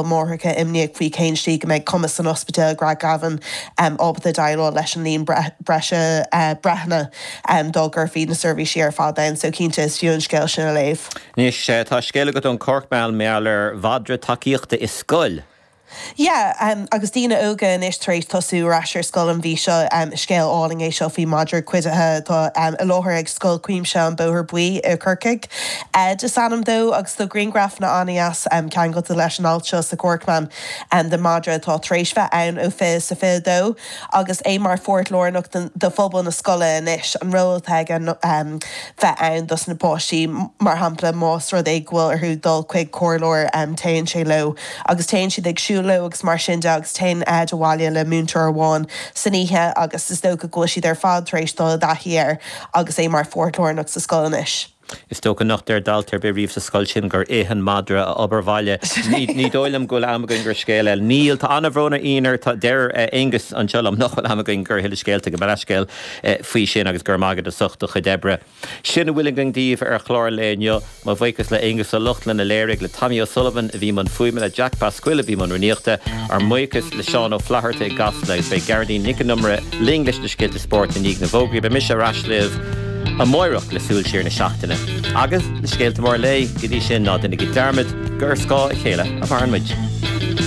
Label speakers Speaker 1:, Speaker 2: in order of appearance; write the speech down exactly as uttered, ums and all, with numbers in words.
Speaker 1: Máithreacha imníoch faoi cén slí go mbeidh cumas an ospidéil Craigavon ábalta déileáil leis an líon breise breitheanna dá gcuirfí na seirbhísí ar fad ann, so cinnte is fiú an scéal sin a léamh.
Speaker 2: Anois tá scéal agat ón Corkman mar gheall ar mhadra tacaíochta i scoil.
Speaker 1: Yeah, um, agus daoine óga anois tar éis tosú ar ais ar scoil an mhí seo um, scéal álainn é seo faoi madra cuidithe tá um, i láthair ag Scoil Cuimsitheach an Bóthar Buí i Corcaigh. Ed is ainm dó agus tá grianghrafanna an-deas um, ceangailte leis an alt seo sa Corkman um, de madra atá tar éis bheith ann ó fiche sa fiche dó agus é mar pháirt lárnach de phobal na scoile anois an ról atá aige um, bheith ann dos na páistí mar shampla más rud é go bhfuil orthu dul chuig comhairleoir um, téann sé leo agus téann siad ag siúl leo agus mar sin de agus téann Ed abhaile le múinteoir amháin san oíche agus is dócha go bhfuil siad ar fad tar éis dul i dtaithí air agus é mar pháirt lárnach sa scoil anois.
Speaker 2: Is dócha nach deir dalta ar bith riamh sa scoil sin gur ith an madra a obair bhaile. Ní dóigh liom go bhfuil am againn do scéal eile. Níl tá an-bhrón orainn tá deir Aonghus anseo liom nach bhfuil am againn do thuilleadh scéalta go leithscéal faoi sin agus gur maigad a socht do chuid oibre. Sin a bhfuil againn daoibh ar chlár lae inniu mo bhuíochas le Aonghus Ó Lochlainn a léirigh le Tommy O'Sullivan a bhí i mbun fuaime le Jack Pasquill a bhí i mbun rúnaíochta ár mbuíochas le Seán Ó Flatharta i gCasla agus beidh Gearóidín Nic an Iomaire linn leis na scéalta spóirt i ndiaidh na bhfógraí beidh mise ar ais libh amárach le súil siar na seachtaine. Agus le scéalta mór lae go dtí sin ná déanaigí dearmad gur ar scáth a chéile a mhaireann muid.